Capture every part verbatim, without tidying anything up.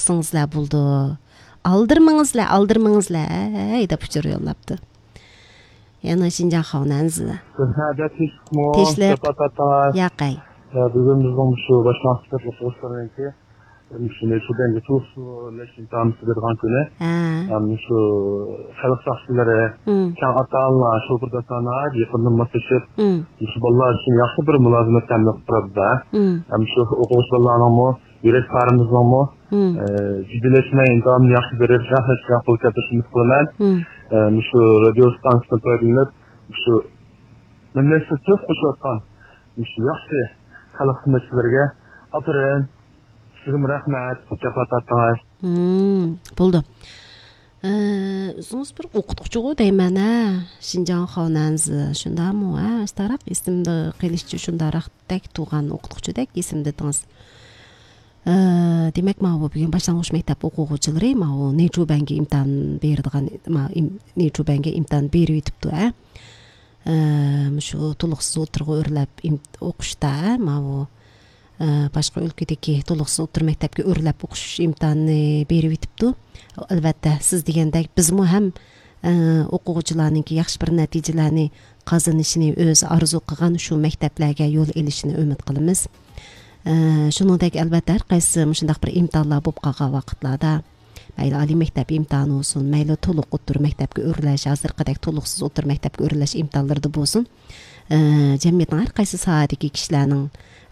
قىلسىڭىزلەر بولىدۇ. ئالدىرىمىڭىزلەر، ئالدىرىمىڭىزلەر، ھەي دەپ ئۇچۇر يوللاپتۇ. يەنە شىنجاڭ خاۋنەنزى. سەھنەدە تىنچلىقمۇ، تىنچلىق. جاپا تارتىڭلار. ياقەي. ئە، بۈگۈن بىزنىڭ مۇشۇ باشلانغۇچ مەكتەپ ئوقۇغۇچىلىرىنىڭكى مۇشۇ نەيچۇ بەنگە تولۇقسىز ئۆرلەش ئىمتىھانى بېرىدىغان كۈنى. ھە. ھەم مۇشۇ خەلق ساقچىلىرى، مم. كەڭ ئاتا-ئانىلار، شوپۇر داستانلار يېقىندىن ماسلىشىپ، مم. مۇشۇ بالىلار ئۈچۈن ياخشى بىر مۇلازىمەت تەمىن قىلىپ تۇرىدۇ. مم. ھەم شۇ ئوقۇغۇچى بالىلارنىڭمۇ يۈرەك پارىمىزنىڭمۇ، مم. ئە، جىددىيلەشمەي، ئىمتىھاننى ياخشى بېرىپ، ياخشى نەتىجىگە قول كەلتۈرۈشىنى ئۈمىد قىلىمەن. مم. ئە، مۇشۇ رادىيو ئىستانسىسىدىن پايدىلىنىپ، مۇشۇ مەملىكەتتە تۆھپە قوشۇۋاتقان مۇشۇ ياخشى خەلق خىزمەتچىلىرىگە ئاپىرىن، سىزگىمۇ رەھمەت، جاپا تارتتىڭىز. مم، بولدى. ئە، ئۆزىڭىز بىر ئوقۇتقۇچىغۇ دەيمەن، ھە؟ شىنجاڭ خاۋنەنزى، شۇنداقمۇ، ھە؟ ئاستاراق ئېسىمدە قېلىشىچە شۇنداقراقتەك تۇرغان ئوقۇتقۇچىدەك ئېسىمدە تۇرىدىڭىز. ئە، دېمەك، ماۋۇ بۈگۈن باشلانغۇچ مەكتەپ ئوقۇغۇچىلىرى ماۋۇ نەيچۇ بەنگە ئىمتىھان بېرىدىغان، ما-، ئىم-، نەيچۇ بەنگە ئىمتىھان بېرىۋېتىپتۇ، ھە؟ ئە، مۇشۇ تولۇقسىز ئوتتۇرىغا ئۆرلەپ ئىم-، ئوقۇشتا، ھە؟ ماۋۇ ئە، باشقا ئۆلكىدىكى تولۇقسىز ئوتتۇرا مەكتەپكە ئۆرلەپ ئوقۇش ئىمتىھانىنى بېرىۋېتىپتۇ. ئەلۋەتتە، سىز دېگەندەك بىزمۇ ھەم، ئە، ئوقۇغۇچىلارنىڭكى ياخشى بىر نەتىجىلەرنى قازىنىشىنى ئۆزى ئارزۇ قىلغان شۇ مەكتەپلەرگە يول ئېلىشىنى ئۈمىد قىلىمىز. ئە، شۇنىڭدەك ئەلۋەتتە ھەر قايسى مۇشۇنداق بىر ئىمتىھانلار بولۇپ قالغان ۋاقىتلاردا، مەيلى ئالىي مەكتەپ ئىمتىھانى بولسۇن، مەيلى تولۇق ئوتتۇرا مەكتەپكە ئۆرلەش، ھازىرقىدەك تولۇقسىز ئوتتۇرا مەكتەپكە ئۆرلەش ئىمتىھانلىرىدا بولسۇن، ئە، جەمئىيەتنىڭ ھەر قايسى ساھەدىكى كىشىلەرنىڭ،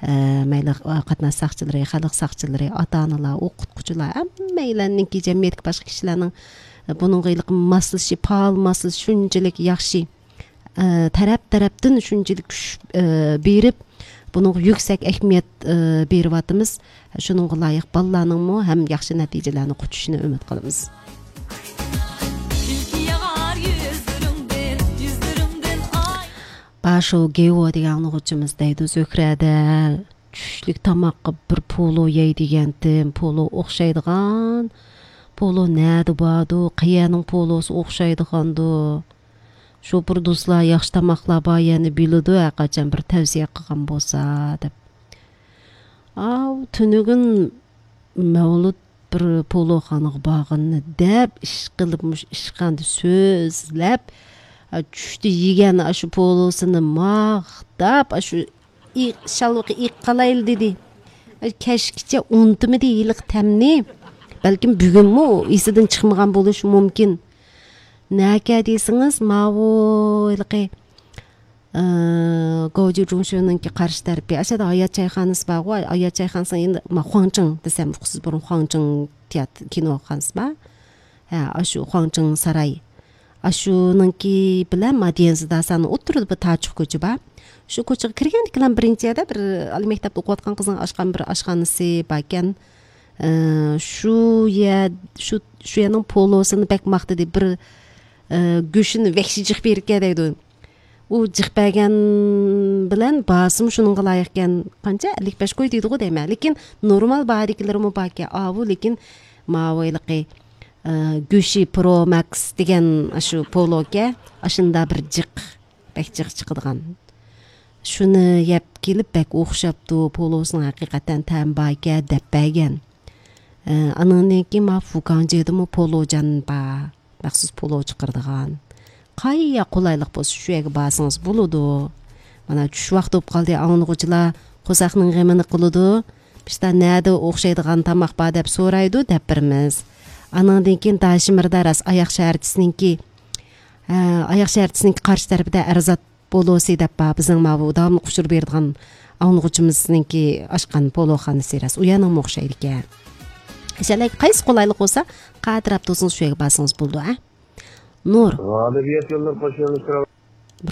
ئە، مەيلى، ئە، قاتناش ساقچىلىرى، خەلق ساقچىلىرى، ئاتا-ئانىلار، ئوقۇتقۇچىلار، ھەممەيلەننىڭكى جەمئىيەتتىكى باشقا كىشىلەرنىڭ، ئە، بۇنىڭغا ھېلىقى ماسلىشىشى، پائال ماسلىشىشى شۇنچىلىك ياخشى، ئە، تەرەپ-تەرەپتىن شۇنچىلىك كۈچ، ئە، بېرىپ، بۇنىڭغا يۈكسەك ئەھمىيەت، ئە، بېرىۋاتىمىز. شۇنىڭغا لايىق بالىلارنىڭمۇ ھەم ياخشى نەتىجىلەرنى قۇتۇشىنى ئۈمىد قىلىمىز. كۈلكە ياغار يۈزلىرىڭدىن، يۈزلىرىڭدىن ئاي. باشو گېۋو دېگەن ئاڭلىغۇچىمىز دەيدۇ، زۆھرەدە چۈشلۈك تاماققا بىر پولۇ يەي دېگەنتىم، پولۇ ئوخشايدىغان. پولۇ نەدە باردۇ، قەيەرنىڭ پولۇسى ئوخشايدىغاندۇ؟ شوپۇر دوستلار ياخشى تاماقلار بار يەرنى بىلىدۇ، ھەرقاچان بىر تەۋسىيە قىلغان بولسا دەپ. ئاۋۇ تۈنۈگۈن مەۋلۇت بىر پولۇخانىغا بارغىنىنى دەپ، ئىشقىلىپ مۇشۇ ئىشخانىدا سۆزلەپ، ئا، چۈشتە يېگەن ئاشۇ پولۇسىنى ماختاپ، ئاشۇ ئى-، شالۋىقى ئېيىق قالايلى دېدى. ئاي، كەچكىچە ئۇنتۇمىدى ھېلىقى تەمنى. بەلكىم بۈگۈنمۇ ئېسىدىن چىقمىغان بولۇشى مۇمكىن. نەكە دېسىڭىز، ماۋۇ ھېلىقى ئى، گوجۇ جۇڭشۈنىڭكى قارشى تەرىپى. ئاشۇ يەردە ھايات چايخانىسى بارغۇ، ھايات چايخانىسىنىڭ يېنىدا، ما، خۇاڭچىڭ دېسەم ئۇقىسىز، بۇرۇن خۇاڭچىڭ تىياتىر، كىنوخانىسى بار. ھە، ئاشۇ خۇاڭچىڭ ساراي. ئاشۇنىڭكى بىلەن ما ديەنزىداساننىڭ ئوتتۇرىدا بىر تاچۇق كوچا بار. شۇ كوچىغا كىرگەندىكىلا بىرىنچى يەردە بىر ئالىي مەكتەپتە ئوقۇۋاتقان قىزنىڭ ئاچقان بىر ئاشخانىسى باركەن. ئى، شۇ يەر، شۇ، شۇ يەرنىڭ پولۇسىنى بەك ماختىدى. بىر، ئى، گۆشىنى ۋەھشىي جىق بېرىكەن دەيدۇ. ئۇ جىق بەرگەن بىلەن باھاسىمۇ شۇنىڭغا لايىقكەن. قانچە؟ ئەللىك بەش كوي دەيدىغۇ دەيمەن. لېكىن نورمال باھادىكىلىرىمۇ باركەن. ئاۋۇ، لېكىن ماۋۇ ھېلىقى، ئە، گۆشى پرو ماكس دېگەن ئاشۇ پولۇكەن. ئاشۇنداق بىر جىق، بەك جىق چىقىدىغان. شۇنى يەپ كېلىپ بەك ئوخشاپتۇ. پولۇسىنىڭ ھەقىقەتەن تەمى باركەن دەپ بەرگەن. ئە، ئانىڭدىن كېيىن ما فۇكاڭجېدىمۇ پولۇجان بار. مەخسۇس پولۇ چىقىرىدىغان. قايا قولايلىق بولسا، شۇ يەرگە بارسىڭىز بولىدۇ. مانا، چۈش ۋاقتى بولۇپ قالدى، ئاڭلىغۇچىلار قورساقنىڭ غېمىنى قىلىدۇ. بىشتا نەدە ئوخشايدىغان تاماق بار دەپ سورايدۇ، دەپ بېرىمىز. ئانىڭدىن كېيىن داشىمىردا راست ئاياغ شەھەرچىسىنىڭكى، ھە، ئاياغ شەھەرچىسىنىڭكى قارشى تەرىپىدە ئەرزات پولۇسى دەپ بار، بىزنىڭ ماۋۇ داۋاملىق ئۇچۇر بېرىدىغان ئاڭلىغۇچىمىزنىڭكى ئاچقان پولۇخانىسى راست. ئۇ يەرنىڭمۇ ئوخشايدىكەن. ئىنشاللا قايسى قولايلىق بولسا، قايسى تەرەپتە بولسىڭىز شۇ يەرگە بارسىڭىز بولىدۇ، ھە؟ نۇر. غالىبىيەت يوللىرى قوشۇلۇشى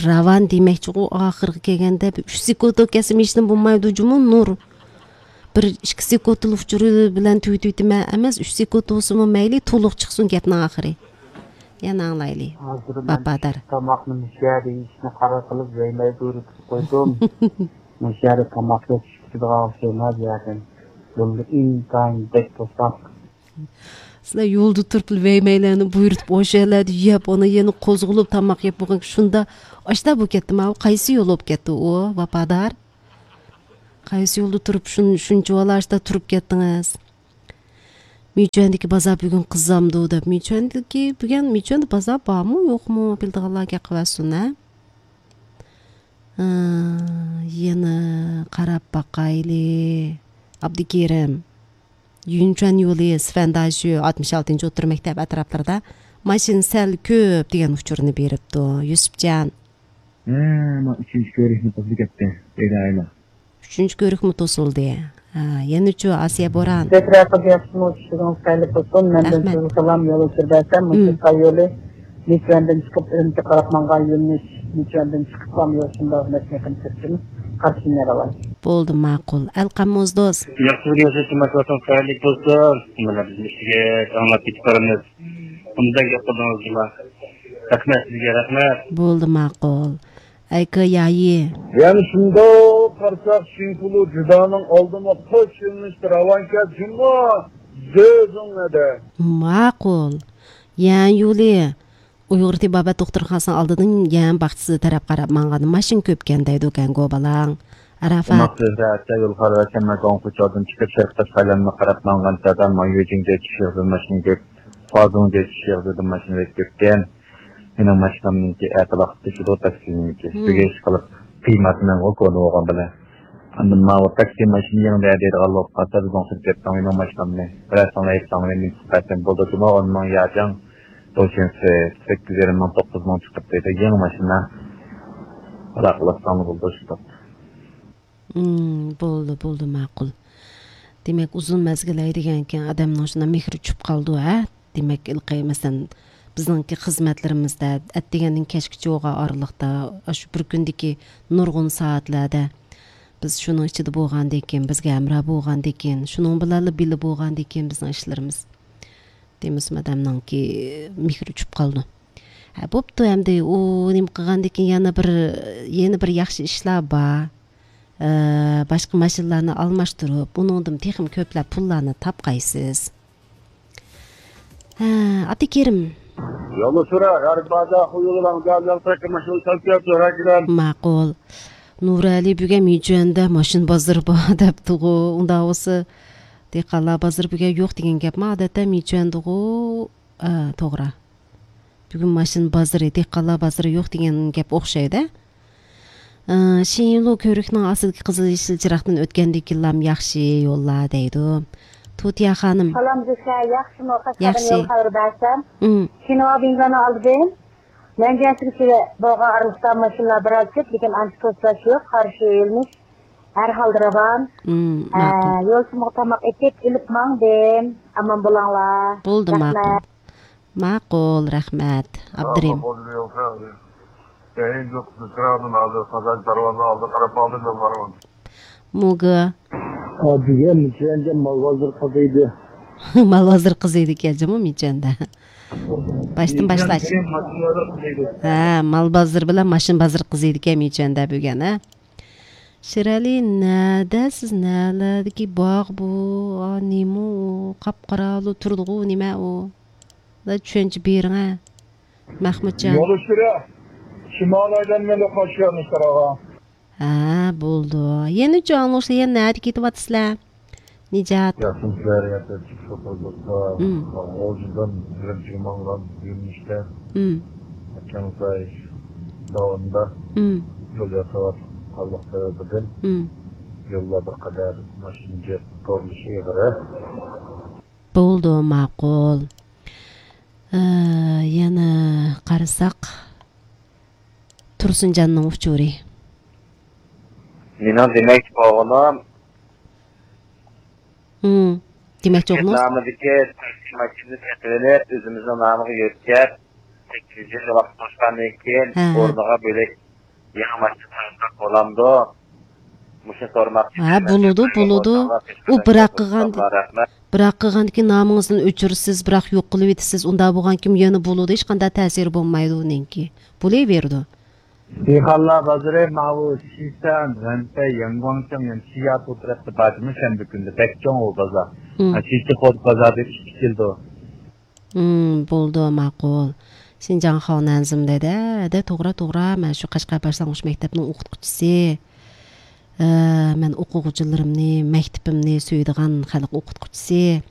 راۋان دېمەكچىغۇ، ئاخىرغا كەلگەندە بىر ئۈچ سېكۇنت كەلسە مېشىنىم بولمايدۇ جۇمۇ، نۇر. بىر ئىككى سېكۇنتلا ئۇچۇرى بىلەن تۈگىتىۋېتىمەن ئەمەس، ئۈچ سېكۇنت بولسىمۇ مەيلى، تولۇق چىقسۇن گەپنىڭ ئاخىرى. يەنە ئاڭلايلى. ھازىر مەن ۋاپادار. تاماقنى مۇشۇ يەردە يېيىشنى قارار قىلىپ، ۋەيمەي بۇيرۇتۇپ قويدۇم. مۇشۇ يەردە تاماق يەپ چىقىپ كېتىدىغان ئوخشايمەن ھازىر. يولدا ئىنتايىن بەك توساق. سىلەر يولدا تۇرۇپلا ۋەيمەيلەرنى بۇيرۇتۇپ، ئوشۇ يەرلەردە يەپ، ئانا يەنە قوزغىلىپ تاماق يەپ بولغان شۇندا ئاشتا بولۇپ كەتتى ماۋۇ. قايسى يول بولۇپ كەتتى ئۇ، ۋاپادار؟ قايسى يولدا تۇرۇپ شۇن-، شۇنچىۋالا ئاشتا تۇرۇپ كەتتىڭىز؟ مىچۈەندىكى بازار بۈگۈن قىزامدۇ دەپ. مىچۈەندىكى بۈگۈن، مىچۈەندە بازار بارمۇ يوقمۇ، بىلىدىغانلار گەپ قىلىۋەتسۇن ھە. ھە، يەنە قاراپ باقايلى. ئابدۇكېرىم، يۈنچۈەن يولى، سىفەنداشۈ، ئاتمىش ئالتىنچى ئوتتۇرا مەكتەپ ئەتراپلىرىدا ماشىنا سەل كۆپ دېگەن ئۇچۇرنى بېرىپتۇ. يۈسۈپجان. ھە، مانا ئۈچىنچى كۆرۈكمۇ توسۇلۇپ كەتتى. ئۈچىنچى كۆرۈكمۇ توسۇلدى. ھە، يەنىچۇ ئاسىيە بوران. بەك رەقىب ياخشىمۇ، چۈشىڭىز خەيرلىك بولسۇن. مەندىن رەھمەت. سىزگە سالام، يول ئۆچۈر بەرسەم، مۇشۇ مم. ساي يولى مىچۈەندىن چىقىپ ئۈرۈمچىگە قاراپ ماڭغان يۆنىلىش، مىچۈەندىن چىقىپلا يول شۇنداق مەشنىقىنى سۈرتۈم، قارشى مېڭىۋالاي. بولدى، ماقۇل. ئەلقەم موزدوز. ياخشى بىر يول سۈرتۈم، ماكروفون خەيرلىك بولسۇن. مانا بىز ئىشىكى ئاڭلاپ كېتىپ بارىمىز. ئۇنداق گەپ قىلدىڭىز جۇما. رەھمەت سىزگە، رەھمەت. بولدى، ماقۇل. ئەيكا يايى. يەنە شۇنداق قارىساق، شىنكۇلۇ جۇدانىڭ ئالدىمۇ قوش يۆنىلىشتە راۋانكەن جۇمۇ زۆزۈڭ نەدە. ماقۇل. يەن يولى. ئۇيغۇر تېبابەت دوختۇرخانىسىنىڭ ئالدىدىن يەن باغچىسى تەرەپ قاراپ ماڭغاندا ماشىنا كۆپكەن دەيدۇ كەنگو بالاڭ. ئەرەفات. ماقۇل، زۆھرە، ئەتە يول خارابە، شەممە گاڭخۇچادىن چىقىپ، شەرقىي تاشقى ئايلانما قاراپ ماڭغان چاغدا، ما يۈجىڭجې چىشىغزىدىن ماشىنا كۆپ، فازۇڭجې چىشىغزىدىن ماشىنا بەك كۆپكەن. مېنىڭ ماشىنامنىڭكى ئەتە ۋاقىت توشىدۇ تاكسىنىڭكى. مم. ئۈستىگە ئىشقىلىپ قىيماتنىڭ ئۇكولى بولغان بىلەن. ئاندىن ماۋۇ تاكسى ماشىنا يېڭىدە دەيدىغان بولۇپ قالسا، بىزنىڭ سۈركەتنىڭ مېنىڭ ماشىنامنى بىرەر ساڭا ئېيتساڭ، مەن چىقىپ بەرسەم بولىدۇ جۇمۇ، ئون مىڭ ياجاڭ، توشىنسى سەككىز يېرىم مىڭ، توققۇز مىڭ چىقىپ دەيدۇ، يېڭى ماشىنا. ئالاقىلاشساڭلار بولىدۇ شۇنداق. مم، بولدى، بولدى، ماقۇل. دېمەك، ئۇزۇن مەزگىل ھەيدىگەنكەن، ئادەمنىڭ شۇنداق مېھرى چۈشۈپ قالىدۇ، ھە؟ دېمەك، ھېلىقى، مەسىلەن، بىزنىڭكى خىزمەتلىرىمىزدە، ئەتىگەندىن كەچكىچە بولغان ئارىلىقتا، ئاشۇ بىر كۈندىكى نۇرغۇن سائەتلەردە بىز شۇنىڭ ئىچىدە بولغاندىكىن، بىزگە ھەمراھ بولغاندىكىن، شۇنىڭ بىلەنلا بىللە بولغاندىكىن، بىزنىڭ ئىشلىرىمىز، دېمىسىمۇ، ئادەمنىڭكى مېھرى چۈشۈپ قالىدۇ. ھە، بوپتۇ، ئەمدى ئۇ نېمە قىلغاندىكىن، يەنە بىر، يەنە بىر ياخشى ئىشلار بار. ئە، باشقا ماشىنىلارنى ئالماشتۇرۇپ، ئۇنىڭدىن تېخىمۇ كۆپلەپ پۇللارنى تاپقايسىز. ھە، ئابدۇكېرىم. يولدا سۈرە، غەرب بازار، خۇيۇلىنىڭ گازىنىڭ تېكى ماشىنا سەل كۆپ، سۈرە كېلەم. ماقۇل. نۇرئەلى بۈگۈن مىچۈەندە ماشىنا بازىرى بار دەپتىغۇ. ئۇنداق بولسا، دېھقانلار بازىرى بۈگۈن يوق دېگەن گەپمۇ؟ ئادەتتە مىچۈەندىغۇ. ئە، توغرا. بۈگۈن ماشىنا بازىرى، دېھقانلار بازىرى يوق دېگەن گەپ ئوخشايدۇ. ئە، شىنلۇ كۆۋرۈكنىڭ ئاستىدىكى قىزىل يېشىل چىراغدىن ئۆتكەندىن كېيىنلام ياخشى يوللار دەيدۇ. تۇتىيا خانىم. سالام زۆھرە، ياخشىمۇ؟ قەشقەردىن ياخشى. يول خەۋىرى بەرسەم. ئىم. شىنۋا بىنگانىڭ ئالدىدىن مەنجۈەن چىرىكى بولغان ئارىلىقتا ماشىنىلار بىراز كۆپ، لېكىن ئانچە توسۇلۇش يوق، قارشى يۆنىلىش ھەر ھالدا راۋان. ئىم، ئە، ماقۇل. يول سىمىغا تاماق ئېتىپ، ئېلىپ ماڭدىم. ئامان بولۇڭلار. بولدى، رەھمەت. ماقۇل. ماقۇل، رەھمەت. ئابدۇرېھىم. موگا. ئا، بۈگۈن مىچۈەندە مال بازىرى قىزىيدۇ. مال بازىرى قىزىيدىكەن جۇمۇ مىچۈەندە. باشتىن باشلاش. ھە، مال بازىرى بىلەن ماشىنا بازىرى قىزىيدىكەن مىچۈەندە بۈگۈن، ھە. شىرئەلى، نەدە سىز، نەلەردىكى باغ بۇ؟ ئا، نېمە ئۇ؟ قاپقاراڭغۇ تۇرىدىغۇ، نېمە ئۇ؟ دا چۈشەنچە بېرىڭە. مەخمۇتجان. يولدىشىرە، شىمال ئايلانمىلى قاشيەرنى سوراغان. ھە، بولدى. يەنە جاڭلۇشلا يەنە نەدە كېتىۋاتىسىلەر؟ نىجات. ياخشىمۇ سىلەر يەردە چىقىش ئوتۇزلۇقتا، مم. غۇلجىدىن ئۈرۈمچىگە ماڭغان يۆنىلىشتە، مم. كەڭساي داۋىنىدا مم. يول ياساۋاتقانلىق سەۋەبىدىن مم. يوللار بىر قەدەر ماشىنا جىق تورلىشى ئېغىر. بولدى، ماقۇل. ئە، يەنە قارىساق، تۇرسۇنجاننىڭ ئۇچۇرى. مېنىڭ دېمەكچى بولغىنىم، ھىم، دېمەكچى بولغىنىڭىز؟ نامىدىكى تاكسى ماشىنىنى سېتىۋېلىپ، ئۆزىمىزنىڭ نامىغا يۆتكەپ، سەككىز يىل ۋاقىت توشقاندىن كېيىن، ھە، ھە. ئورنىغا بۆلەك يېڭى ماشىنا سالساق بولامدۇ؟ مۇشۇنى سورىماقچى. ھە، بولىدۇ، بولىدۇ. ئۇ بىراق قىلغان، رەھمەت. بىراق قىلغاندىكىن نامىڭىزدىن ئۆچۈرىسىز، بىراق يوق قىلىۋېتىسىز، ئۇنداق بولغانكىن يەنە بولىدۇ، ھېچقانداق تەسىرى بولمايدۇ ئۇنىڭكى. بولۇۋېرىدۇ. دېھقانلار بازىرى ماۋۇ شىسەن، رەنپەي، يەنگۇاڭچىڭ، يەنە شىياتۇ تەرەپتە بار جۇمۇ شەنبە كۈنى. بەك چوڭ ئۇ بازار. ھىم. ھە، شىچىخوت بازار دەپ ئىككى كېلىدۇ. ھىم، بولدى، ماقۇل. شىنجاڭ خاۋ نەنزىم دەيدۇ. ھەدە، توغرا، توغرا. مەن شۇ قەشقەر باشلانغۇچ مەكتەپنىڭ ئوقۇتقۇچىسى. ئە، مەن ئوقۇغۇچىلىرىمنى، مەكتىپىمنى سۆيىدىغان خەلق ئوقۇتقۇچىسى.